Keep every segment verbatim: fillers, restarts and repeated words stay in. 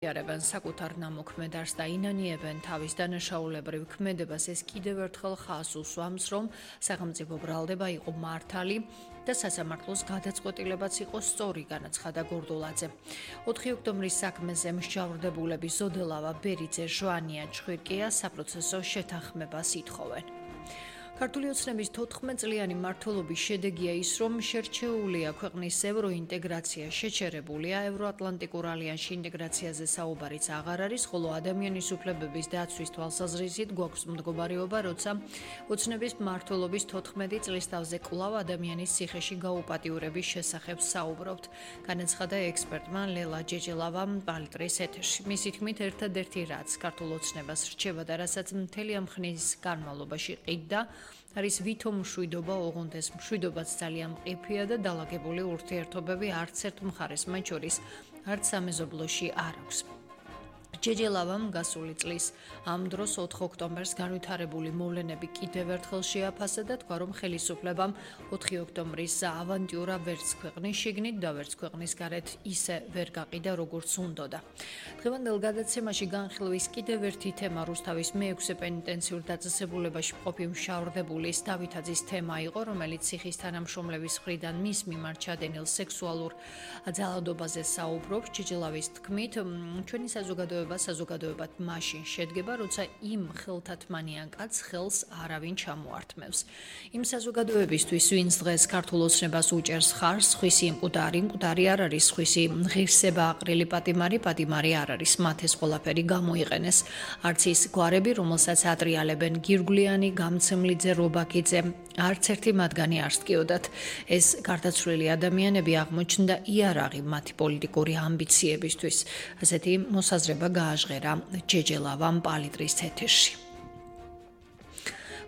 იარებენ საკუთარ ნამოქმედარს და ინანიებენ თავის დანაშაულებრივ ქმედებას, ეს კიდევ ერთხელ ხაზს უსვამს, რომ სახელმწიფო ბრალდება იყო მართალი და სასამართლოს გადაწყვეტილებაც იყო სწორი, განაცხადა გორდულაძე. ოთხი ოქტომბრის საქმეზე მსჯავრდებულების ზოდელავა, ბერიძე, ჟვანია, ჩხვირკია საპროცესო შეთანხმებას ითხოვენ. ქართული ოცნების თოთხმეტ-წლიანი მმართველობის შედეგია ის, რომ შერჩეულია ქვეყნის ევროინტეგრაცია, შეჩერებულია ევროატლანტიკურ ალიანსში ინტეგრაციაზე საუბარიც აღარ არის, ხოლო ადამიანის უფლებების დაცვის თვალსაზრისით გვაქვს მდგომარეობა, როცა ოცნების მმართველობის თოთხმეტი წლის თავზე კვლავ ადამიანის ციხეში გაუპატიურების შესახებ საუბრობთ, განაცხადა ექსპერტმა ლელა ჯეჯელავამ პალიტრის ეთერში. მისი თქმით, ერთადერთი რაც ქართულ ოცნებას რჩება და რასაც მთელი ამ ხნის განმავლობაში ყიდდა, არის ვითომ მშვიდობა, ოღონდ ეს მშვიდობაც ძალიან მყიფეა და დალაგებული ურთიერთობები არც ერთ მხარეს, მათ შორის არც სამეზობლოში არ აქვს. ჯეჯელავამ გასული წლის ამ დროს ოთხ ოქტომბერს განვითარებული მოვლენები კიდევ ერთხელ შეაფასა და თქვა, რომ ხელისუფლებამ ოთხი ოქტომბრის ავანტიურა ვერც ქვეყნის შიგნით და ვერც ქვეყნის გარეთ ისე ვერ გაყიდა, როგორც უნდოდა. დღევანდელ გადაცემაში განხილვის კიდევ ერთი თემა რუსთავის მეექვსე პენიტენციურ დაწესებულებაში მყოფი მშავრდებულის დავითაძის თემა იყო, რომელიც ციხის თანამშრომლების მხრიდან მის მიმართ ჩადენილ სექსუალურ ძალადობაზე საუბრობს. ჯეჯელავის თქმით, ჩვენი საზოგადოება საზოგადოებად მაშინ შედგება, როცა იმ ხელთათმანიან კაცს ხელს არავინ ჩამოართმევს. იმ საზოგადოებისთვის, ვინც დღეს ქართულ ოცნებას უჭერს ხარს, სხვისი მკვდარი, მკვდარი არ არის, სხვისი ღირსება აყრილი პატიმარი, პატიმარი არ არის, მათ ეს ყველაფერი გამოიყენეს. არც ის გვარები, რომელსაც ატრიალებენ გირგვლიანი, გამცემლიძე, რობაქიძე, არც ერთი მათგანი არ სკიოდათ. ეს გარდაცვლილი ადამიანები აღმოჩნდა იარაღი მათი პოლიტიკური ამბიციებისთვის. ასეთი მოსაზრება გააჟღერა ჯეჯელავამ პალიტრის ეთერში.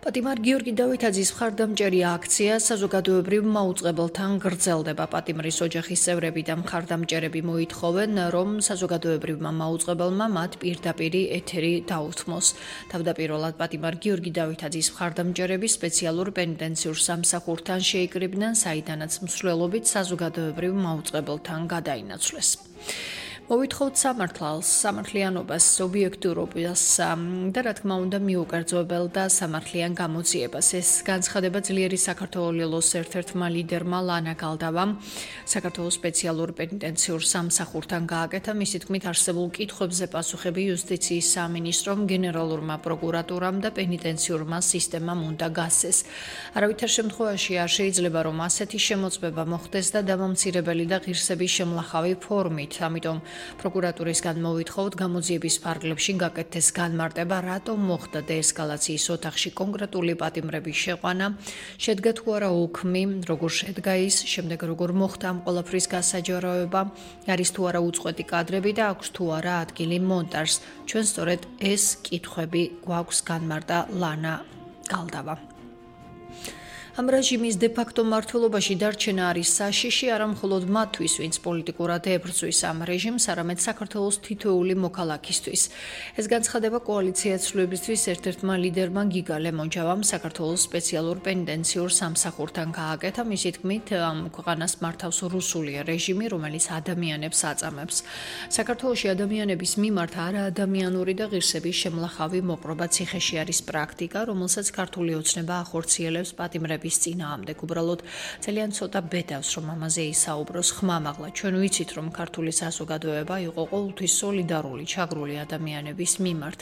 პატიმარ გიორგი დავითაძის მხარდამჭერი აქცია საზოგადოებრივ მაუწყებელთან გრძელდება. პატიმრის ოჯახის წევრები და მხარდამჭერები მოითხოვენ, რომ საზოგადოებრივმა მაუწყებელმა მათ პირდაპირი ეთერი დაუთმოს. თავდაპირველად პატიმარ გიორგი დავითაძის მხარდამჭერები სპეციალურ პენიტენციურ სამსახურთან შეიკრიბნენ, საიდანაც მსვლელობით საზოგადოებრივ მაუწყებელთან გადაინაცვლეს. მოვითხოვთ სამართალს, სამართლიანობას, ობიექტურობას და რა თქმა უნდა მიუკერძოებელ და სამართლიან გამოძიებას. ეს განცხადება ძლიერი საქართველოს ერთ-ერთმა ლიდერმა ლანა გალდავამ საქართველოს სპეციალურ პენიტენციურ სამსახურთან გააკეთა. მისი თქმით, არსებულ კითხვებზე პასუხები იუსტიციის სამინისტრომ, გენერალურმა პროკურატურამ და პენიტენციურმა სისტემამ უნდა გასცეს. არავითარ შემთხვევაში არ შეიძლება, რომ ასეთი შემოწმება მოხდეს და დამამცირებელი და ღირსების შემლახავი ფორმით. ამიტომ პროკურატურისგან მოვითხოვთ გამოძიების ფარგლებში გაკეთდეს განმარტება, რატომ მოხდა დეესკალაციის ოთახში კონკრეტული პატიმრების შეყვანა, შედგა თუ არა უქმი, როგორ შედგა ის, შემდეგ როგორ მოხდა ამ ყველაფრის გასაჯაროება, არის თუ არა უწყვეტი კადრები და აქვს თუ არა ადგილი მონტაჟს. ჩვენ სწორედ ეს კითხვები გვაქვს, განმარტა ლანა გალდავა. ამ რეჟიმის დე-ფაქტო მმართველობაში დარჩენა არის საშიში არა მხოლოდ მათთვის, ვინც პოლიტიკურად ებრძვის ამ რეჟიმს, არამედ საქართველოს თითოეული მოქალაქისთვის. ეს განცხადება კოალიცია ცვლილებისთვის ერთ-ერთმა ლიდერმა გიგა ლემონჯავამ საქართველოს სპეციალურ პენიტენციურ სამსახურთან გააკეთა. მისი თქმით, ამ ქვეყანას მართავს რუსული რეჟიმი, რომელიც ადამიანებს აწამებს. საქართველოში ადამიანების მიმართ არაადამიანური და ღირსების შემლახავი მოპყრობა ციხეში არის პრაქტიკა, რომელსაც ქართული ოცნება ახორციელებს პატიმრების წინააღმდეგ. უბრალოდ ძალიან ცოტა ბედავს, რომ ამაზე ისაუბროს ხმამაღლა. ჩვენ ვიცით, რომ ქართული საზოგადოება იყო ყოველთვის სოლიდარული ჩაგრული ადამიანების მიმართ.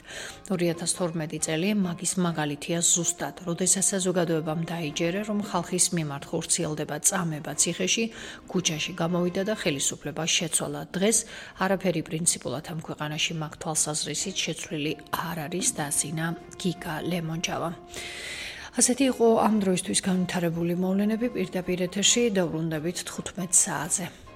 ორი ათას თორმეტი წელი მაგის მაგალითია ზუსტად, როდესაც საზოგადოებამ დაიჯერა, რომ ხალხის მიმართ ხორციელდება წამება ციხეში, ქუჩაში გამოვიდა და ხელისუფლება შეცვალა. დღეს არაფერი პრინციპულად ამ ქვეყანაში მაგ თვალსაზრისით შეცვლილი არ არის, დაასინა გიგა ლემონჯავა. ასეთი იყო ამ დროისთვის განვითარებული მოვლენები. პირდაპირ ეთერში დავრუნდებით თხუთმეტ საათზე.